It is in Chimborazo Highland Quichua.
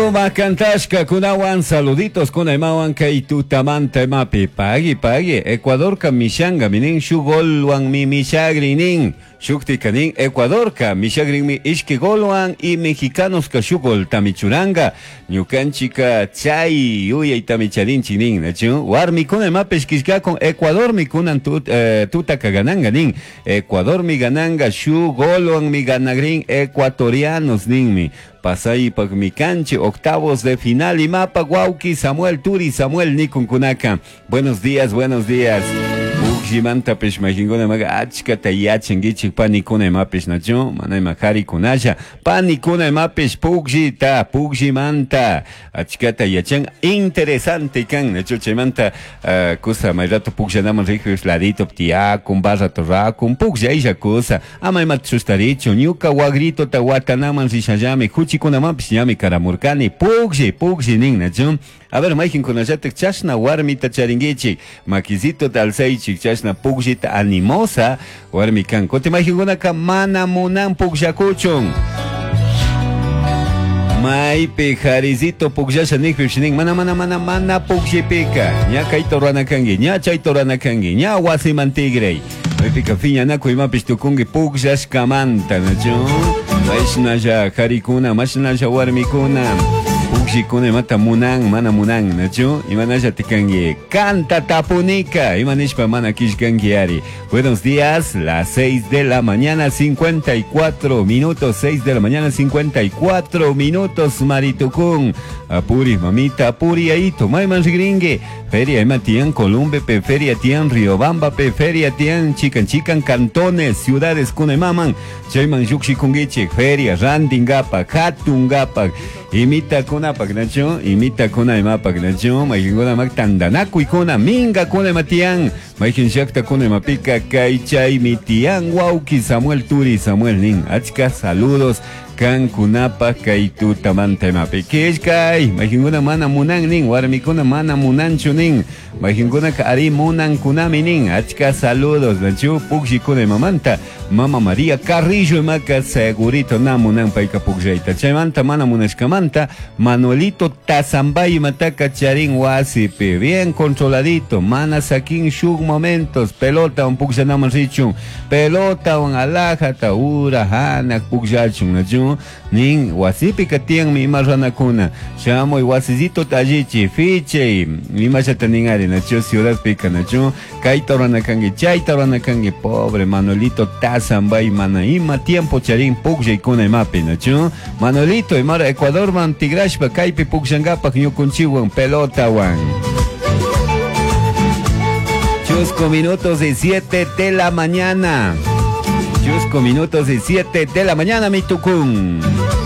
Sumak kantashkakunawan saluditos kunaymawan kay tutamanta imapi pagui pagui Ecuadorka mishangami nin shuk golwanmi mishagrin nin shuktika nin Ecuadorka mishagrinmi ishki golwan y mexicanoska shuk goltami churanga ñukanchika chay yuyaytami charinchik nin nachu warmikuna imapish killkakun Ecuadormi kunan tutaka gananga nin Ecuadormi gananga shuk golwanmi ganagrin ecuatorianos ninmi pasaypakmi kanchik octavos de final imapak wawki Samuel Turi Samuel nikunkunaka. Buenos días, buenos días. Puklllimantapish mayqinkuna imaqa achkata yachankichik panikuna imapish nachu mana ima qharikunalla panikuna imapish pukllita pukllimanta achkata yachan interesante kan nachu chaymanta kusa may rato pukllanaman riqpish ladito tiyakun barrato rakun pukllaylla kusa ama imata chustarichu ñuka wagritota watanaman rishallami huchikunamanpish ñami karamurkani puklli puklli nin nachu. A ver, mayqinkunallatak chashna warmita charinkichik makisitota alzaychik chashna pukllita animosa warmi kan kutin mayqinkunaka mana munan pukllakuchun. Maypi qarisito pukllasha nijpipish nin mana mana mana mana pukllipika ña kayta rurana kanki ña chayta rurana kanki ña wasiman tigray maypika phiñanakuy imapish tukunki pukllashkamanta nachu mashnalla qarikuna mashnalla warmikuna pukllikuna imata munan mana munan nachu imanallati kanki kanta tapunika ima nishpa mana killkanki ari. Buenos días, las 6 de la mañana 54 minutos, 6 de la mañana 54 minutos, Maritucún. Apuri, mamita, apuri aito, mayman rigringue. Feria ima tiyan Columbe pe, feria tiyan Riobamba pe, feria tiyan chikan chikan cantones, ciudades kuna imaman. Chayman llukshikunkichik, feria rantingapak, hatungapak, imitakunapak, nachu, imitakuna imapak, nachu, mayqinkunamak tantanakuykuna, minkakuna ima tiyan, mayqin llaqtakuna imapika kay chaymi tiyan wawki Samuel Turi Samuel nin, achka saludos kankunapak kay tutamanta imapi killkay, mayqinkuna mana munan nin, warmikuna mana munanchu nin, mayqinkunaka ari munankunami nin, achka saludos nachu pukllikuna imamanta, mama María Carrillo imaka segurito na munan payka pukllayta, chaymanta mana munashkamanta Manuelito Tazambay imataka charin wasipi, bien controladito, mana sakin shuk momentos, pelota un pukllanaman richun, pelota un alajata ura hanak pukllachun nachu nin wasipika tiyanmi ima runakuna shamuy wasisito allichi fichay imallata nin ari nachu ciudadpika nachu kayta rurana kanki chayta rurana kanki pobre Manuelito Tazambay mana ima tiempo charin pukllaykuna imapi nachu Manuelito imara Ecuadorman tigrashpa kaypi pukllankapak ñukunchikwan pelotawan. Chusco minutos y 7 de la mañana. Chusco minutos y 7 de la mañana, mi tucún.